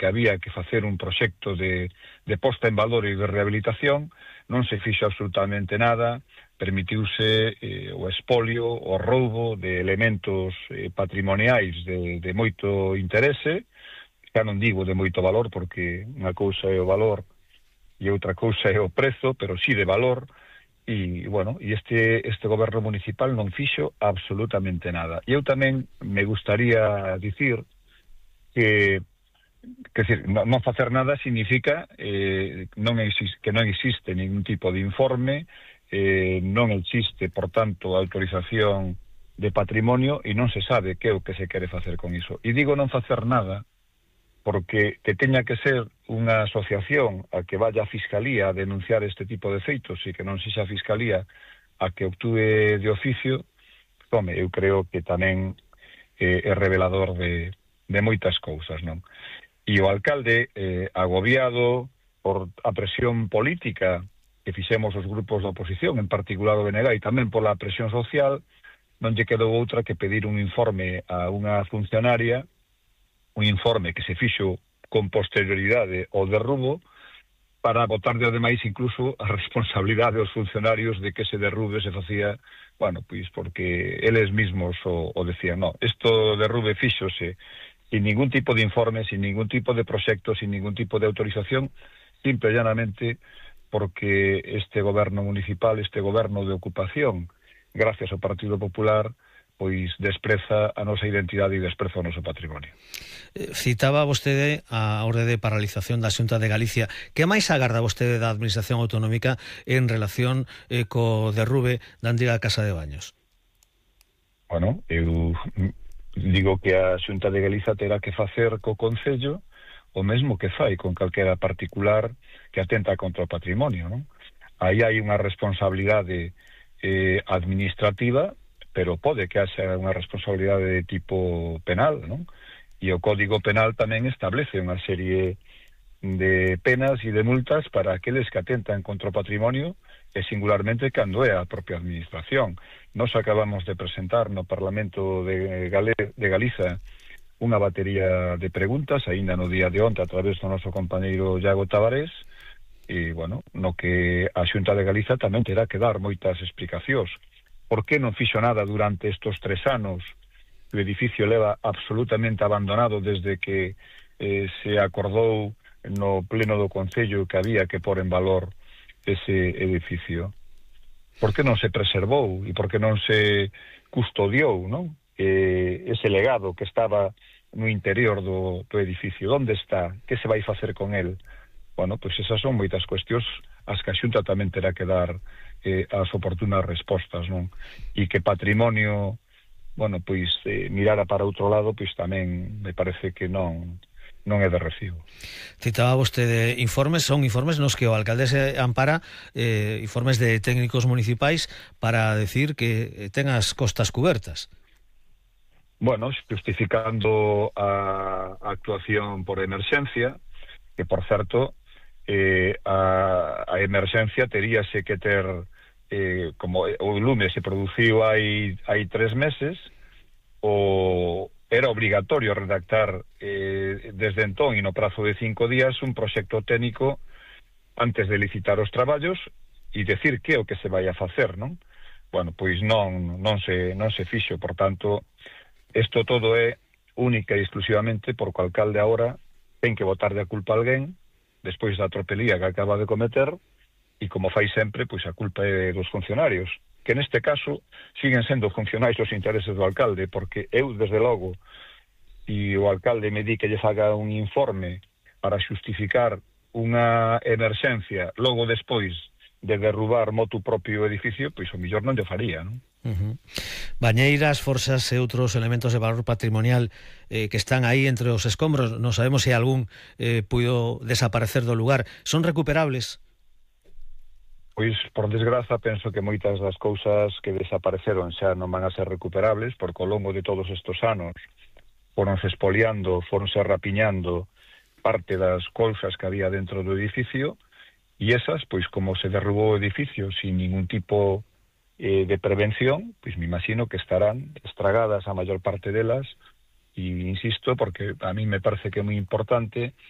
que había que facer un proxecto de posta en valor e de rehabilitación, non se fixo absolutamente nada, permitiuse o expolio, o roubo de elementos patrimoniais de moito interese, xa non digo de moito valor, porque unha cousa é o valor e outra cousa é o prezo, pero sí de valor. E, bueno, e este goberno municipal non fixo absolutamente nada. E eu tamén me gustaría dicir que decir, non facer nada significa que non existe ningún tipo de informe, non existe, por tanto, autorización de patrimonio e non se sabe que é o que se quere facer con iso. E digo non facer nada porque que teña que ser unha asociación a que vaya a Fiscalía a denunciar este tipo de feitos e que non sexa a Fiscalía a que actúe de oficio, home, eu creo que tamén é revelador de moitas cousas, non? E o alcalde, agobiado por a presión política que fixemos os grupos da oposición, en particular o BNG, e tamén pola presión social, non lle quedou outra que pedir un informe a unha funcionaria, un informe que se fixo con posterioridade ao derrubo, para botarlle ademais incluso a responsabilidade aos funcionarios de que ese derrube se facía, bueno, pois porque eles mismos o decían, no, isto derrube fíxose sin ningún tipo de informe, sin ningún tipo de proxecto, sin ningún tipo de autorización, simple e llanamente porque este goberno municipal, este goberno de ocupación, gracias ao Partido Popular, pois despreza a nosa identidade e despreza o noso patrimonio. Citaba vostede a orde de paralización da Xunta de Galicia. Que máis agarda vostede da Administración Autonómica en relación co derrube da antiga Casa de Baños? Bueno, eu digo que a Xunta de Galicia terá que facer co Concello o mesmo que fai con calquera particular que atenta contra o patrimonio, non? Aí hai unha responsabilidade administrativa, pero pode que haxa unha responsabilidade de tipo penal, non? E o Código Penal tamén establece unha serie de penas e de multas para aqueles que atentan contra o patrimonio e singularmente cando é a propia administración. Nos acabamos de presentar no Parlamento de Galiza unha batería de preguntas, aínda no día de onte a través do noso compañeiro Iago Tavares, e, bueno, no que a Xunta de Galiza tamén terá que dar moitas explicacións. Por que non fixo nada durante estes 3 anos? O edificio leva absolutamente abandonado desde que se acordou no pleno do Concello que había que pôr en valor ese edificio. Por que non se preservou e por que non se custodiou, non? Ese legado que estaba no interior do edificio? Onde está? Que se vai facer con el? Bueno, pois esas son moitas cuestións as que a Xunta tamén terá que dar as oportunas respostas, non? E que patrimonio, bueno, pois mirara para outro lado, pois tamén me parece que non é de recibo. Citaba vostede informes, son informes nos que o alcalde se ampara, informes de técnicos municipais para decir que ten as costas cubertas. Bueno, justificando a actuación por emerxencia, que, por certo, a emerxencia teríase que ter, como o lume se produciu hai 3 meses, era obligatorio redactar desde entón e no prazo de 5 días un proxecto técnico antes de licitar os traballos e decir que é o que se vai a facer, non? Bueno, pois non se fixo, por tanto, isto todo é única e exclusivamente porque o alcalde agora ten que botar de a culpa a alguén despois da tropelía que acaba de cometer e, como fai sempre, pois a culpa é dos funcionarios, que neste caso siguen sendo funcionais os intereses do alcalde, porque eu, desde logo, e o alcalde me di que lle faga un informe para xustificar unha emerxencia logo despois de derrubar motu propio edificio, pois o millor non lle faría, non? Bañeiras, forzas e outros elementos de valor patrimonial que están aí entre os escombros, non sabemos se algún puido desaparecer do lugar, son recuperables? Pois, por desgraza, penso que moitas das cousas que desapareceron xa non van a ser recuperables, porque ao longo de todos estes anos foronse expoliando, foronse rapiñando parte das cousas que había dentro do edificio, e esas, pois, como se derrubou o edificio sin ningún tipo de prevención, pois me imagino que estarán estragadas a maior parte delas, e insisto, porque a mí me parece que é moi importante